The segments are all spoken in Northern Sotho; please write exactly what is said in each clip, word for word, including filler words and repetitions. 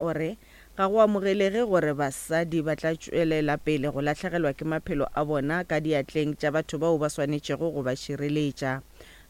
O re ga go amogelege gore basadi ba tla tšwelela pele go lahlegelwa ke maphelo a bona ka diatleng tša batho bao ba swanetšego go ba šireletša.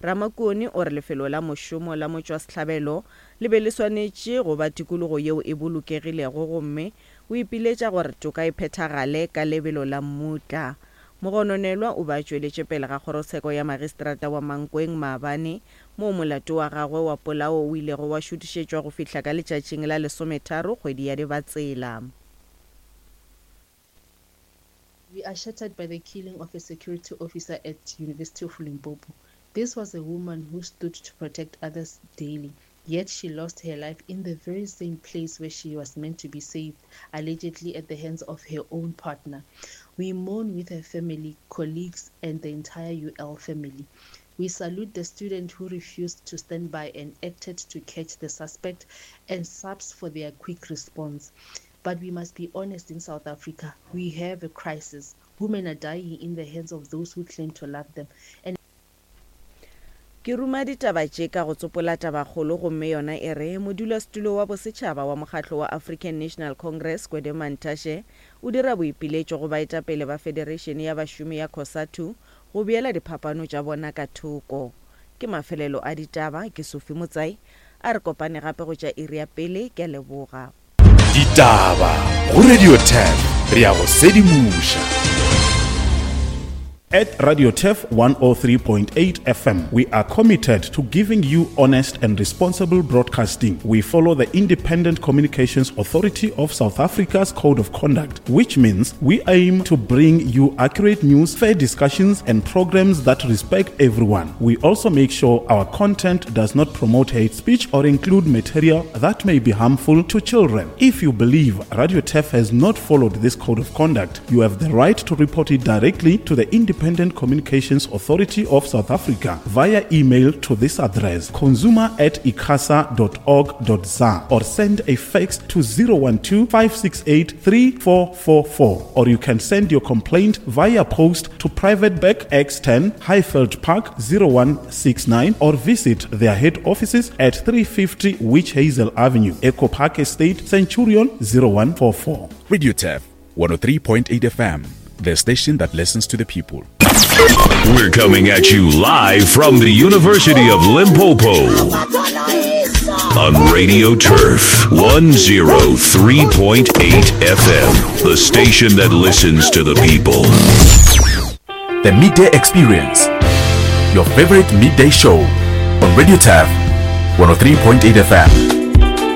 Ramakone o re lefelo la mošomo la motšwasehlabelo le be le swanetše go ba tikologo yeo e bolokegilego gomme o ipiletša gore toka e phethagale ka lebelo la mmutla. Mogononelwa o be a tšweletše pele ga kgorotsheko ya magistrata wa Mankweng maabane, moo molato wa gagwe wa polao o ilego wa šutišetšwa go fihla ka letšatšing la lesometharo kgwedi ya Dibatsela. We are shattered by the killing of a security officer at University of Limpopo. This was a woman who stood to protect others daily, yet she lost her life in the very same place where she was meant to be saved, allegedly at the hands of her own partner. We mourn with her family, colleagues, and the entire U L family. We salute the student who refused to stand by and acted to catch the suspect, and SAPS for their quick response. But we must be honest in South Africa. We have a crisis. Women are dying in the hands of those who claim to love them. And Ke ruma ditaba tše ka go tsopola tabakgolo gomme yona e re, Modulasetulo wa bosetšhaba wa mokgatlo wa African National Congress, Gwede Mantashe, o dira boipiletšo go baetapele ba federeišene ya bašomi ya COSATU go beela diphapano tša bona ka thoko. Ke mafelelo a ditaba, ke Sophie Motsai. A re kopane gape go tša iri ya pele, ke a leboga. Ditaba go Radio Turf, re ya go sedimoša. At Radio Turf one oh three point eight F M, we are committed to giving you honest and responsible broadcasting. We follow the Independent Communications Authority of South Africa's Code of Conduct, which means we aim to bring you accurate news, fair discussions, and programs that respect everyone. We also make sure our content does not promote hate speech or include material that may be harmful to children. If you believe Radio Turf has not followed this Code of Conduct, you have the right to report it directly to the Independent Communications Authority of South Africa via email to this address, consumer at icasa dot org dot za, or send a fax to zero one two, five six eight, three four four four, or you can send your complaint via post to Private Bag X ten, Highveld Park zero one six nine, or visit their head offices at three fifty Witch Hazel Avenue, Echo Park Estate, Centurion zero one four four. Radio Turf one oh three point eight F M, the station that listens to the people. We're coming at you live from the University of Limpopo on Radio Turf one oh three point eight F M, the station that listens to the people. The Midday Experience, your favorite midday show on Radio Turf one oh three point eight F M.